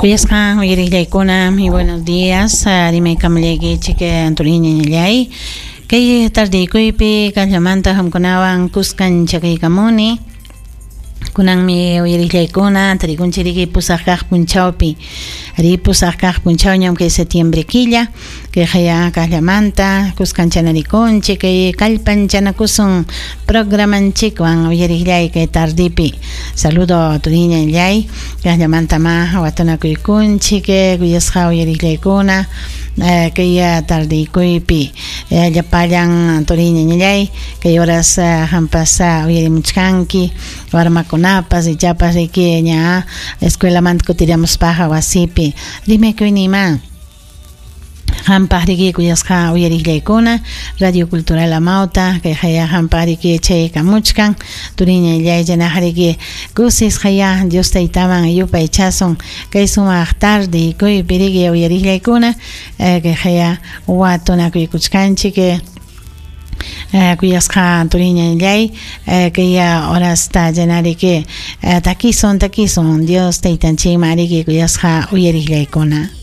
Kuyasqan uyariqllaykuna, muy buenos días. Rimaykamullaykichik Antoniñallay. Kay tardiykuypi kaqllamanta qamkunawan kuskan chakaykamuni. Kunanmi uyariqllaykuna tarikunchik riki pusaq kaq punchawpi. Ri pusaq kaq punchawñam kay septiembre killa. Kayqaya kaqllamanta kuskanchanarikunchik kay kallpanchanakusun programanchikwan uyariqllay kay tardipi. Saludo turiñallay kaqllamanta ma watunakuykunchik kuyasqa uyariqllaykuna kay tardiykuypi llapallan turiñallay kay horas qampas uyarimuchkanki warmakunapas ichapas riki ña escuelamanta kutiramuspaqa wasipi rimakuyniyman. Qampaq riki kuyasqa uyariqllaykuna Radio Cultural Amauta kay haya qampaq riki chaykamuchkan turiñallay chaynaqa riki kusisqaya Dios taytaman yupaychasun kay sumaq tardiykuypi riki uyariqllaykuna kay haya watunakuykuchkanchik kuyasqa turiñallay kay horasta chaynariki takisun takisun Dios taytanchikman riki kuyasqa uyariqllaykuna.